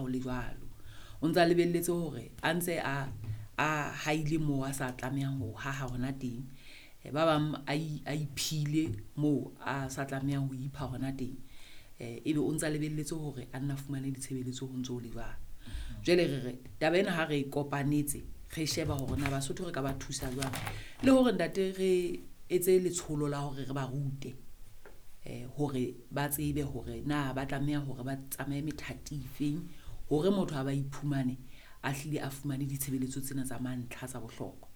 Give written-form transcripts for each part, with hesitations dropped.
ha o le jwalo. O ntsa lebelletse hore a ntse a a haile moo a sa tlamehang ho haha hona teng. Ba bang a iphile moo a sa tlamehang ho ipha hona teng. Ebe o ntsa lebelletse hore a nna fumane ditshebeletso ho ntso ho le jwalo. Jwale re re taba ena ha re kopanetse re sheba hore na Basotho re ka ba thusa jwang le hore ntate re etse letsholo la hore re ba rute hore ba tsebe hore na ba tlameha hore ba tsamaye methati e feng hore motho a ba iphumane a hlile a fumane ditshebeletso tsena tsa mantlha tsa bohlokwa.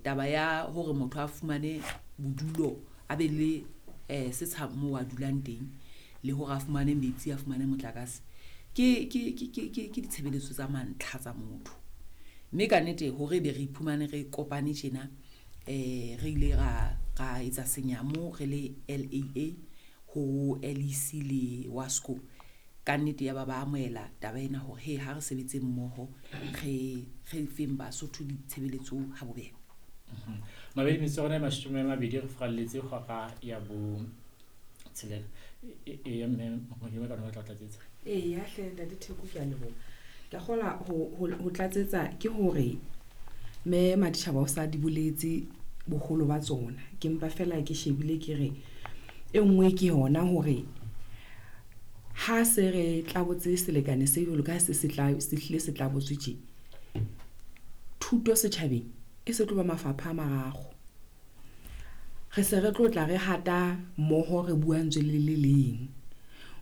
Taba ya hore motho a fumane bodulo a be le setsha moo a dulang teng le hore a fumane metsi, a fumane motlakase ke ditshebeletso tsa mantlha tsa motho. Mme ka nnete hore ebe re iphumane re kopane tjena re ile ra etsa senyamo re le L_A_A ho L_E_C le WASCO. Ka nnete ya ba ba amohela taba ena hore he ha re sebetse mmoho re feng Basotho ditshebeletso ha bobebe. Mabedi metsotso ya rona e mashome a mabedi re furalletse hora ya bo tshelela. Eya mme Modimo ka batla ho tlatsetsa. Eya hle ntate Theko ke a leboha. Ke a kgolwa ho tlatsetsa ke hore mme Maditjhaba o sa di boletse boholo ba tsona. Ke mpa fela ke shebile ke re e nngwe ke yona hore ha se re tlabotse selekane se jwalo ka se se tla se hlile se tlabotswe tje. Thuto setjhabeng e se tlo ba mafapha a mararo. Re se re tlo tla re hata mmoho re bua ntswe le le leng.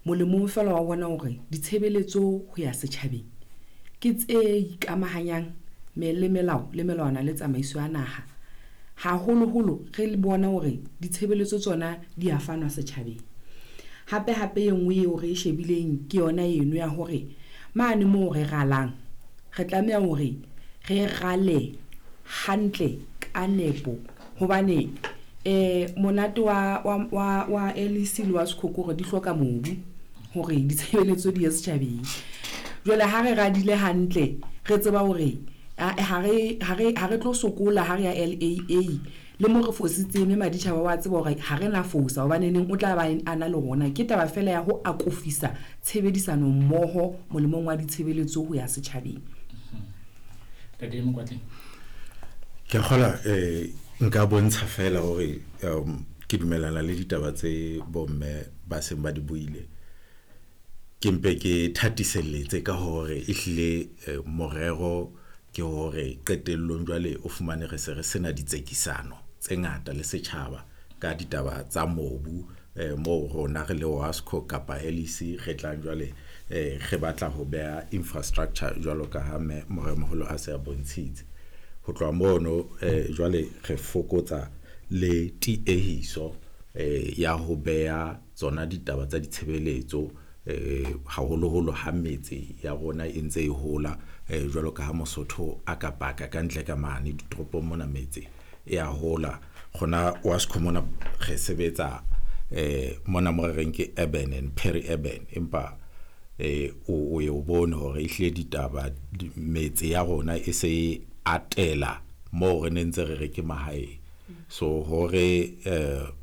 Molemong fela wa bona hore ditshebeletso ho ya setjhabeng ke tse ikamahanyang le melao le melawana le tsamaiso ya naha. Haholoholo re bona hore ditshebeletso tsona di a fanwa setjhabeng. Hape hape e nngwe eo re e shebileng ke yona eno ya hore mane moo re ralang re tlameha hore re rale hantle ka nepo hobane monate wa L_E_C le wa Sekhoko hore di hloka mobu hore ditshebeletso di ye setjhabeng. Jwale ha re radile hantle re tseba hore ha re tlo sokola ha re ya L_A_A le mo re fositseng mme Maditjhaba wa tseba hore ha re na fosa hobane neng o tla ba a na le rona. Ke taba fela ya ho akofisa tshebedisano mmoho molemong wa ditshebeletso ho ya setjhabeng. Ntate Mokwatleng. Ke kgola nka bontsha fela hore ke dumellana le ditaba tse bomme ba seng ba di buile. Ke mpe ke thatiselletse ka hore ehlile morero ke hore qetellong jwale o fumane re se re sena ditsekisano tse ngata le setjhaba ka ditaba tsa mobu moo rona re le WASCO kapa L_E_C re tlang jwale re batla ho beha infrastructure jwalo ka ha mme moremoholo a se a bontshitse. Ho tloha mono jwale re fokotsa le tiehiso ya ho beha tsona ditaba tsa ditshebeletso haholoholo ha metse ya rona e ntse e hola jwalo ka ha Mosotho a ka paka ka ntle ka mane ditoropong mona metse e a hola. Rona WASCO mona re sebetsa mona mo re reng ke urban and peri-urban empa o ye o bone hore ehlile ditaba metse ya rona e se atela moo re ne ntse re re ke mahaeng. So hore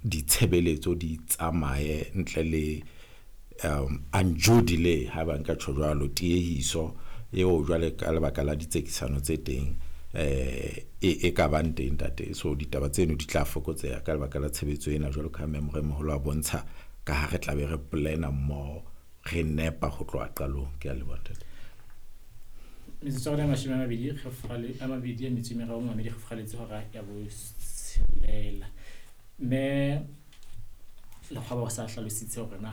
ditshebeletso di tsamaye ntle le undue delay ha ba nka tjho jwalo tiehiso eo jwale ka lebaka la ditsekisano tse teng e ka bang teng ntate. So ditaba tseno di tla fokotseha ka lebaka la tshebetso ena jwalo ka ha mme moremoholo a bontsha ka ha re tla be re plan-a mmoho re nepa ho tloha qalong. Ke a leboha ntate. Metsotso ya rona e mashome a mabedi re a mabedi a metso e meraro mamedi re furaletse hora ya botshelela. Mme Lekgwaba o sa hlalositse hore na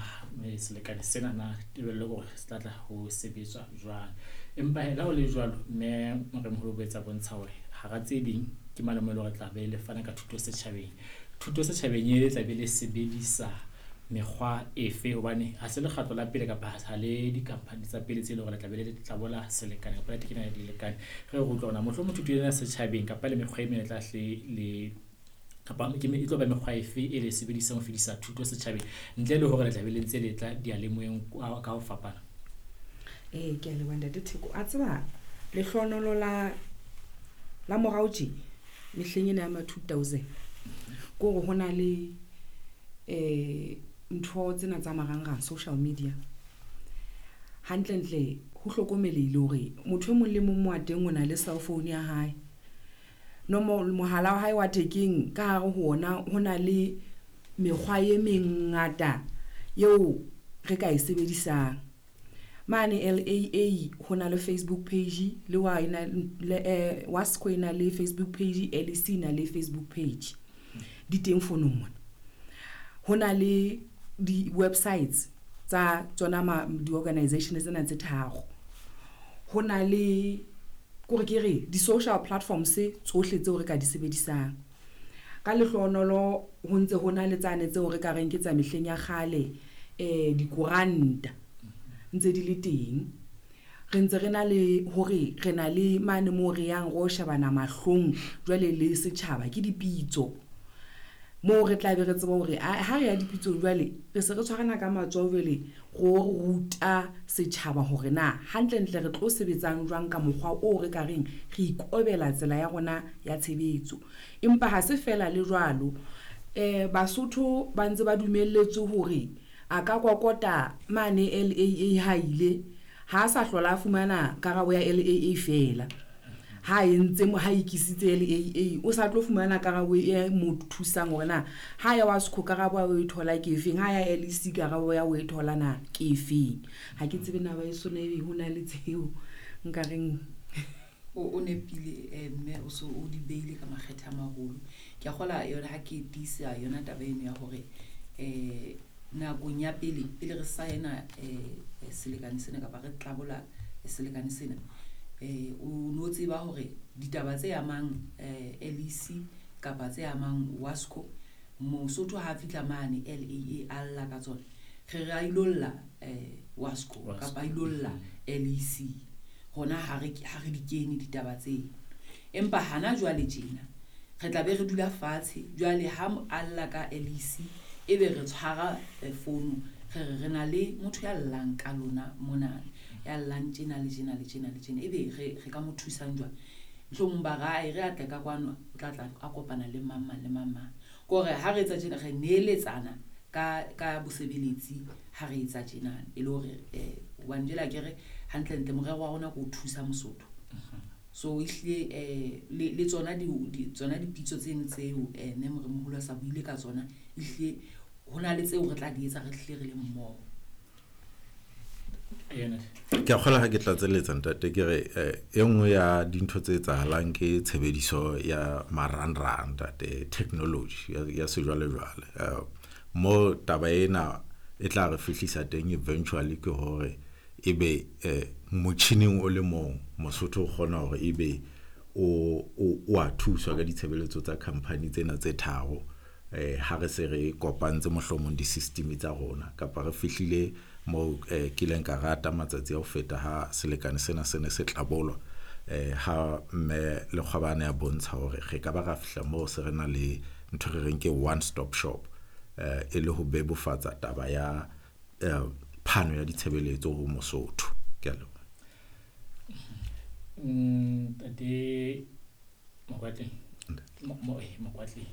selekane sena na tebello ke hore se tla tla ho sebetswa jwang. Empa hee le ha ho le jwalo mme moremoholo o boetse a bontsha hore hara tse ding ke mane moo e le hore tla be le fana ka thuto setjhabeng. Thuto setjhabeng e tla be le sebedisa mekgwa efe hobane ha se lekgatlo la pele kapa ha le di-company tsa pele tse leng hore le tla be le tlabola selekane kapa le tekena dilekane. Re re utlwa hore na mohlomong thuto ena setjhabeng kapa le mekgwa e meng e tla hle le kapa ke e tlo ba mekgwa efe e le sebedisang ho fedisa thuto setjhabeng ntle le hore le tla be le ntse le tla diyalemoyeng ka ho fapana. Ke a leboha ntate Theko. A tseba lehlohonolo la morao tje mehleng ena ya ma 2000 ke hore ho na le ntho tsena tsa marangrang social media. Hantlentle Ho hlokomelehile hore motho e mong le mong mo a teng o na le cell phone ya hae. Nomoro mohala wa hae wa thekeng ka hare ho ona ho na le mekgwa e mengata eo re ka e sebedisang. Mane LAA ho na le Facebook page le wa ena le WASCO e na le Facebook page, LEC e na le Facebook page. Di teng fonong mona. Ho na le di-websites tsa tsona di-organization tsena tse tharo. Ho na le kore ke re di-social platforms tsohle tseo re ka di sebedisang. Ka lehlohonolo ho ntse ho na le tsane tseo re ka reng ke tsa mehleng ya kgale, dikoranta ntse di le teng. Re ntse re na le hore re na le mane moo re yang ro shebana mahlong jwale le setjhaba ke dipitso. Moo re tla be re tseba hore ha re ya dipitsong jwale re se re tshwarana ka matsoho jwale ro ruta setjhaba hore na hantlentle re tlo sebetsang jwang ka mokgwa o re ka reng re ikobela tsela ya rona ya tshebetso. Empa ha se fela le jwalo, Basotho ba ntse ba dumelletswe hore a ka kokota mane LAA ha ile ha sa hlola a fumana karabo ya LAA fela. Ha entse ha ikisitse LAA o sa tlo fumana karabo e mo thusang hore na ha ya WASCO karabo ya o e thola ke efeng, ha ya LEC karabo ya o e thola na ke efeng. Ha ke tsebe na ba eso na ebe ho na le tseo nka reng o nepile mme o so o di beile ka makgethe a maholo. Ke a kgola yona ha ke tiisa yona taba eno ya hore nakong ya pele pele re saena selekane sena kapa re tlabola selekane sena, o no tseba hore ditaba tse amang LEC kapa tse amang WASCO, Mosotho ha fihla mane LAA a lla ka tsona, re re a ilo lla WASCO kapa a ilo lla LEC. Hona ha re di kene ditaba tseo. Empa hana jwale tjena re tla be re dula fatshe jwale ha a lla ka LEC ebe re tshwara founu re re re na le motho ya llang ka lona mona, ya llang tjena le tjena le tjena le tjena, ebe re ka mo thusang jwang. Mohlomong ba re re atle ka kwano, o tla tla a kopana le mang mang le mang mang. Kore ha re etsa tjena re neeletsana ka bosebeletsi ha re etsa tjena e le hore hobane jwale akere hantlentle morero wa rona ke ho thusa Mosotho. So ehlile le tsona tsona dipitso tseno tseo mme moremoholo a sa buile ka tsona, ehlile ho na le tseo re tla di etsa re hlile re le mmoho. Ke a kgolwa ha ke tlatselletsa ntate ke re e nngwe ya dintho tse etsahalang ke tshebediso ya marangrang ntate, technology ya sejwalejwale. Mo taba ena e tla re fihlisa teng eventually ke hore ebe motjhining o le mong Mosotho o kgona hore ebe o a thuswa ka ditshebeletso tsa company tsena tse tharo. Ha re se re kopantse mohlomong di-system tsa rona kapa re fihlile mo kileng ka rata matsatsi a ho feta ha selekane sena se ne se tlabolwa, ha mme Lekgwabane a bontsha hore re ka ba ra fihla moo se re na le ntho re reng ke one stop shop, e le ho bebofatsa taba ya phano ya ditshebeletso ho Mosotho. Ke a leboha. Ntate Mokwatle. Mokwatle.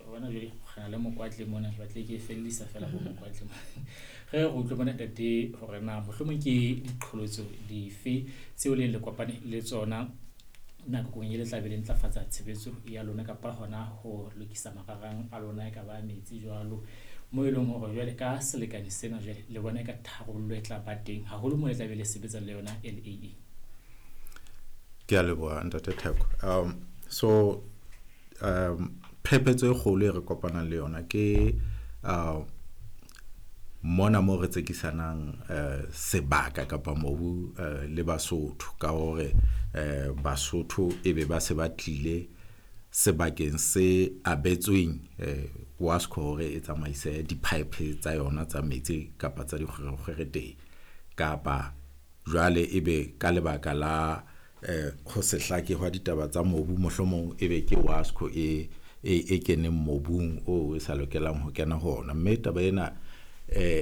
Bona jwale re na le Mokwatle mona, ke batle ke fellisa fela ho Mokwatle mona. Re re utlwe bona ntate hore na mohlomong ke diqholotso dife tseo le le kopane le tsona nakong e le tla be le ntlafatsa tshebetso ya lona kapa hona ho lokisa mararang a lona e ka ba metsi jwalo, mo e leng hore jwale ka selekane sena jwale le bona ka tharollo e tla ba teng haholo mo le tla be le sebetsa le yona LAA. Ke a leboha ntate Theko. So phephetso e kgolo e re kopanang le yona ke mona mo re tsekisanang sebaka kapa mobu le Basotho, ka hore Basotho ebe ba se ba tlile sebakeng se abetsweng WASCO hore e tsamaise di-pipe tsa yona tsa metsi kapa tsa dikgwerekgwere teng, kapa jwale ebe ka lebaka la ho se hlake hwa ditaba tsa mobu mohlomong ebe ke WASCO e keneng mobung o e sa lokelang ho kena ho ona. Mme taba ena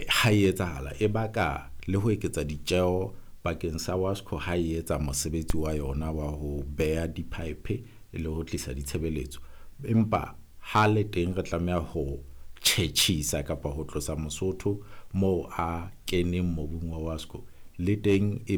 ha e etsahala e baka le ho eketsa ditjeho bakeng sa WASCO ha e etsa mosebetsi wa yona wa ho beha di-pipe le ho tlisa ditshebeletso. Empa ha le teng re tlameha ho tjhetjhisa kapa ho tlosa Mosotho moo a keneng mobung wa WASCO, le teng e ba